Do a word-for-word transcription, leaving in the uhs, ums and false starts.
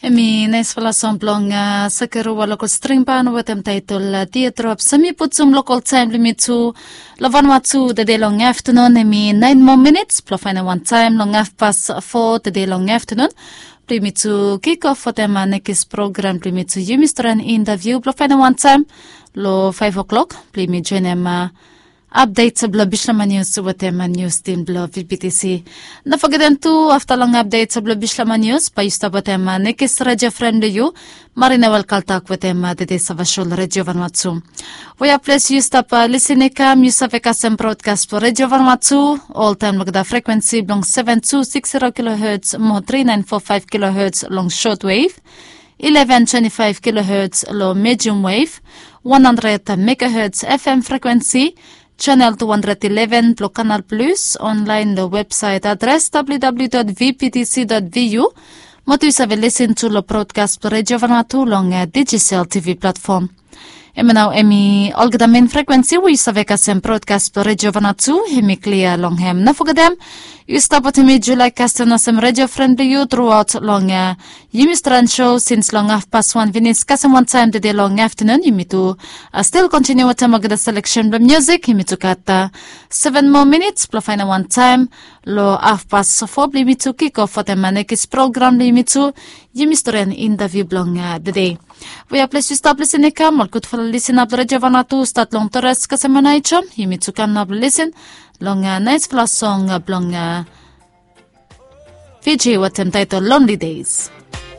Em i naispela song blong Sakeru Walokol Stringban wetem taitol Teardrop. Sami putum lokol taim blong yumi tu long Vanuatu tede long aftanun, em i nain moa minits blong faindaot wantaim long hafpas fo tede long aftanun blong yumi tu kikof wetem nekis program blong yumi tu yumi stret long interviu blong faindaot wantaim long faiv o'clock blong yumi joinim apdet blong Bislama Nius wetem nius tim blong V P T C. No fogetem tu, afta long apdet blong Bislama Nius bae yu stap wetem nekis redio fren blong yu, Marina Welkaltak wetem tede save sho long Redio Vanuatu. Wea ples yu stap lisin i kam, yu save kasem brodkas blong Redio Vanuatu oltaim long olgeta frekwensi blong seven two six zero kilohertz mo three nine four five kilohertz long shortwave, eleven twenty-five kilohertz long medium wave, one hundred megahertz F M frekwensi, channel two hundred eleven blong Canal Plus, online long website adres W W W dot V P T C dot V U, mo tu yu save lisin tu long brodkas blong Redio Vanuatu long Digicel T V platform. Em nao em i olgeta mein frekwensi we yu save kasem brodkas blong Redio Vanuatu, em i klia long hem. No fogetem, yu stap wetem mi Julai Kaston olsem redio fren blong yu truaot long yumi stret sho sins long hafpas wan finis kasem wantaim tede long aftanun. Yumi tu stil kontiniu wetem olgeta seleksen blong musik. Yumi tu gat seven moa minits blong faindaot wantaim long hafpas fo blong yumi tu kikof wetem nekis program blong yumi tu yumi stret long interviu blong tede. Wea ples yu stap lisin i kam, ol gudfala lisin ap long Redio Vanuatu stat long Torres kasem Anaicho, yumi tu kam nao blong lisin long naispela song blong Fiji wetem taitol Lonely Days.